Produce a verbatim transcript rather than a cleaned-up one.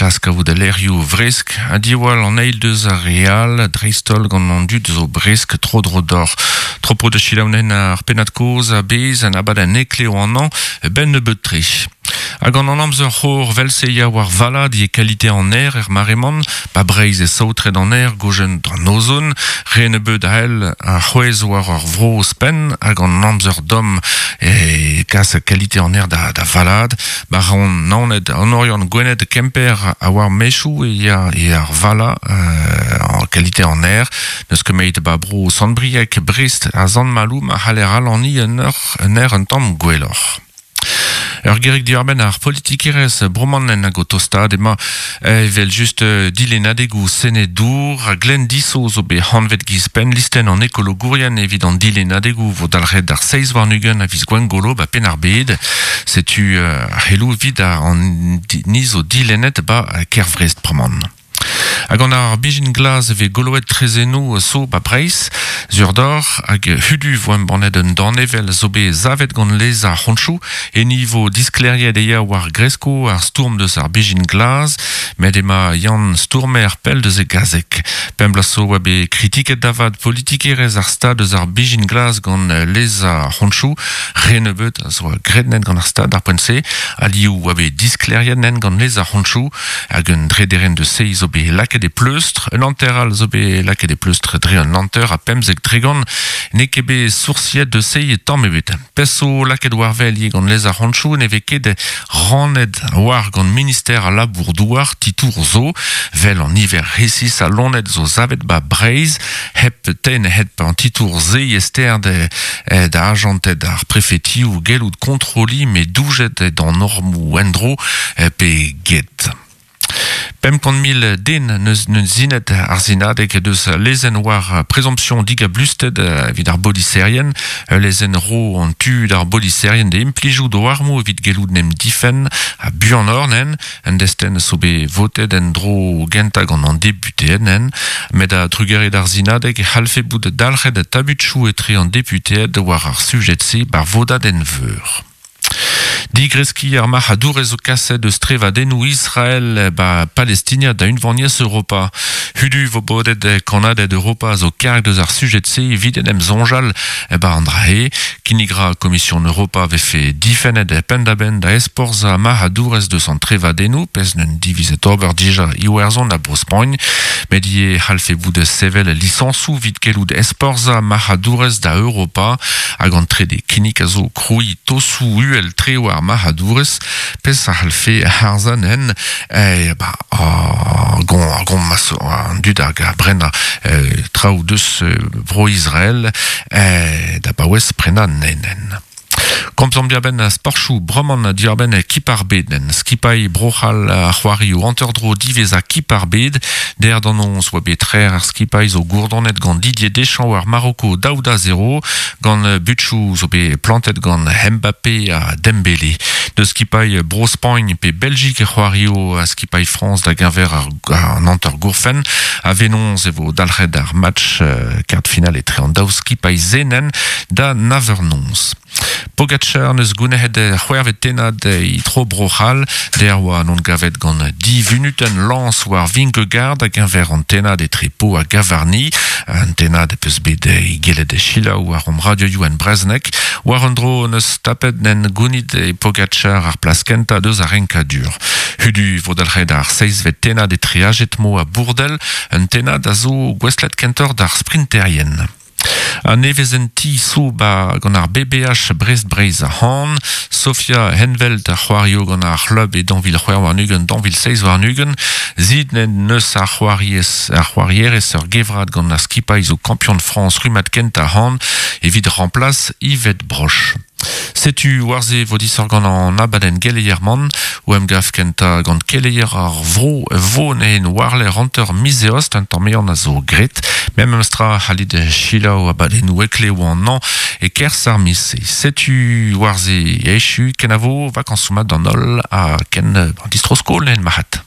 Klask a vout lerioù vresk a diwal an eil deus ar real dreistol gant an dud zo bresk tro dro d'or. Tropo de chilaounen ar penad koz a bez an abad an ekleo an an ben nebeut tre. Hag an an amzer c'hor velse ya war valad e kalite an aer er mareman, ba breiz e saotret an aer gojen d'an ozon, re nebeut a el a c'hwez war ar vro spen hag an amzer dom e kas kalite an aer da, da valad, ba ran naoned an Oriant Gwened Kemper a war mechou e ya e ar vala euh, en kalite an aer, neus ket meit ba bro Sant-Brieg Brest a Zant-Malou ma c'haller alani un ur un aer un tamm gwelloc'h. Ur gerig diarbenn ar politikerez bromanen hag o tostad ema evel just dilenadegou senedour a glen diso zo be hanvet giz penn listen an ekologourien evit an dilenadegou vo dalc'het ar seiz warn-ugent a viz gwengolo ba penn ar bed. Setu uh, helou vid ar an nizo dilenet ba Kervrest proman. Hag an ar bijin glaz eve goloet trezenou so ba Breiz, zur d'or hag hudu vo embannet un danevel zo be zavet gant lez ar c'honchou e nivo diskleriet eia war gresko ar stourm deus ar bijin glaz, met ema Yann Stourmer pell deus e gazek. Pemp bloaz zo oa bet kritiket davad politikerez ar stad deus ar bijin glaz gant lez ar c'honchou, re nebeut a zo graet nen gant ar stad ar poent-se, aliou oa bet diskleriet nen gant lez ar c'honchou, hag un drederen deus se zo bet laket e pleustr, un hanter all zo bet laket e pleustr dre un hanter a pemzek tregont, n'eo ket bet soursiet deus se tamm ebet. Pezh zo laket war wel ivez gant lez ar c'honchou, ne vez ket rannet war gant minister a labour douar titour zo, vel an niver resis a lonet zo zavet ba Breiz, hep ten hep an titour ze ester de, da ajanted ar prefetioù gellout kontroli me doujet d'an normou endro pe get. Pemp kant mil den neus neus zinet ar zinadeg deus lezenn war présomption digablusted evit ar boliserien, lezenn ro an tu d'ar boliserien de implijou do armo evit gellout nem difen a buan or nen, en desten so bet votet en dro genta gant an député nen, met a drugere d'ar zinadeg e c'hallfe bout dalc'het tabutchou etre an député war ar sujet-se bar vodad en veur. Digreski ar marc'hadourez zo kaset eus trevadennoù Israel ba Palestinia da unvaniezh Europa. Hudu vo bodet kannaded Europa zo karg deus ar sujet-se evit en em soñjal ba an dra-he. Kinnig ra Komision Europa vefe difennet penn-da-benn da esporz ar marc'hadourez deus an trevadennoù, pezh n'eus divizet ober dija Iwerzhon ha Bro-Spagn, met ivez c'hallfe bout sevel lisañsoù evit gellout esporz ar marc'hadourez da Europa hag an trede kinnig a zo krouiñ tosoù uhel tre war marc'hadourez, pezh a c'hallfe harzan en eh, ba, ar gon, ar gon mas an dud hag a brenna eh, traoù deus eh, bro Israel eh, da baouez prena nenen. Komzomp diarbenn sporchoù bremañ diarbenn kip ar bed nen. Skipailh Bro-C'hall a c'hoario hanter-dro diwezhañ kip ar bed. Der d'an noz oa bet trec'h ar skipailh zo gourdonet gant Didier Deschamps war Maroko daou da zero, gant butchoù zo bet plantet gant Mbappé ha Dembélé. Deus skipailh Bro-Spagn pe Belgique e c'hoario a skipailh France da geñver ar, an hanter gourfenn. A venoz e vo dalc'het ar match euh, quart final etre an daou skipailh zenen da nav eur noz. Pogacar neus gounezet c'hwec'hvet tennad e tro Bro-C'hall, der oa non gavet gant div vunutenn lañs war Vingegaard hag geñver an tennad etre Pau ha Gavarnie, an tennad peus bet e gellet e selaou war om radioioù en brezhoneg, war an dro neus tapet nen gounit e Pogacar ar plas kentañ deus ar renkadur. Hudu vo dalc'het ar seizhvet tennad etre Hagetmo ha Bourdel, un tennad a zo gouestlet kentoc'h d'ar sprinterien. An nevezenti zo ba gant ar B B H Brest-Breizh a-han, Sofia Henvelt a c'hoario gant ar c'hlub e daou vil c'hwec'h warn-ugent, daou vil seizh warn-ugent, zid nen neus ar c'hoariez, ar c'hoarierez ur gevrad gant ar skipailh zo kampion France rummad kentañ han evit remplaç Yvette Broch. Setu war-se vo disoc'h gant an abadenn geleier-man, o emgav kentañ gant keleier ar vro vo nen warler hanter miz eost, un tamm mean a zo graet. Mem emstra c'hallit selaou abadennoù heklev an an e kerzh ar miz-se. Setu war-se echu kenavo vakansoù mat d'an holl ha ken an distro-skol nen marc'had.